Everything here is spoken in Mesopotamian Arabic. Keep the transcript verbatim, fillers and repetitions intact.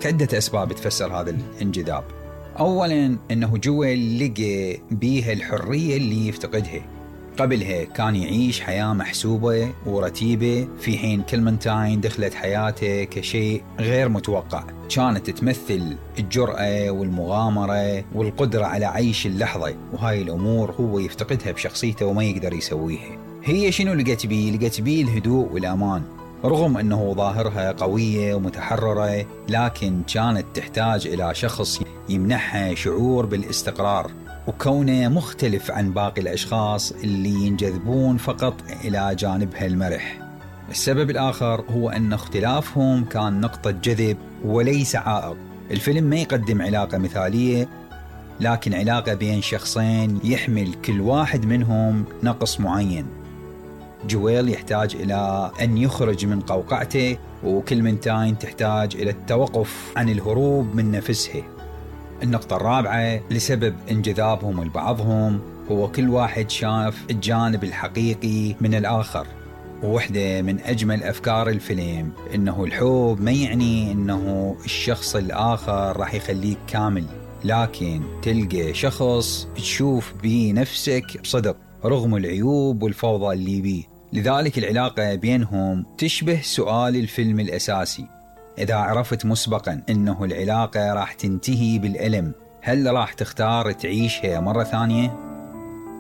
عدة أسباب تفسر هذا الانجذاب. أولاً أنه جويل لقى بيها الحرية اللي يفتقدها. قبلها كان يعيش حياة محسوبة ورتيبة، في حين كلمنتاين دخلت حياته كشيء غير متوقع، كانت تمثل الجرأة والمغامرة والقدرة على عيش اللحظة، وهاي الأمور هو يفتقدها بشخصيته وما يقدر يسويها. هي شنو لقت بيه؟ لقت بيه الهدوء والأمان، رغم أنه ظاهرها قوية ومتحررة، لكن كانت تحتاج إلى شخص يمنحها شعور بالاستقرار، وكونه مختلف عن باقي الأشخاص اللي ينجذبون فقط إلى جانبها المرح. السبب الآخر هو أن اختلافهم كان نقطة جذب وليس عائق. الفيلم ما يقدم علاقة مثالية، لكن علاقة بين شخصين يحمل كل واحد منهم نقص معين. جويل يحتاج إلى أن يخرج من قوقعته، وكلمنتاين تحتاج إلى التوقف عن الهروب من نفسها. النقطة الرابعة لسبب انجذابهم لبعضهم هو كل واحد شاف الجانب الحقيقي من الآخر. ووحدة من أجمل أفكار الفيلم إنه الحب ما يعني إنه الشخص الآخر راح يخليك كامل، لكن تلقى شخص تشوف بيه نفسك بصدق رغم العيوب والفوضى اللي بيه. لذلك العلاقة بينهم تشبه سؤال الفيلم الأساسي: إذا عرفت مسبقاً إنه العلاقة راح تنتهي بالألم، هل راح تختار تعيشها مرة ثانية؟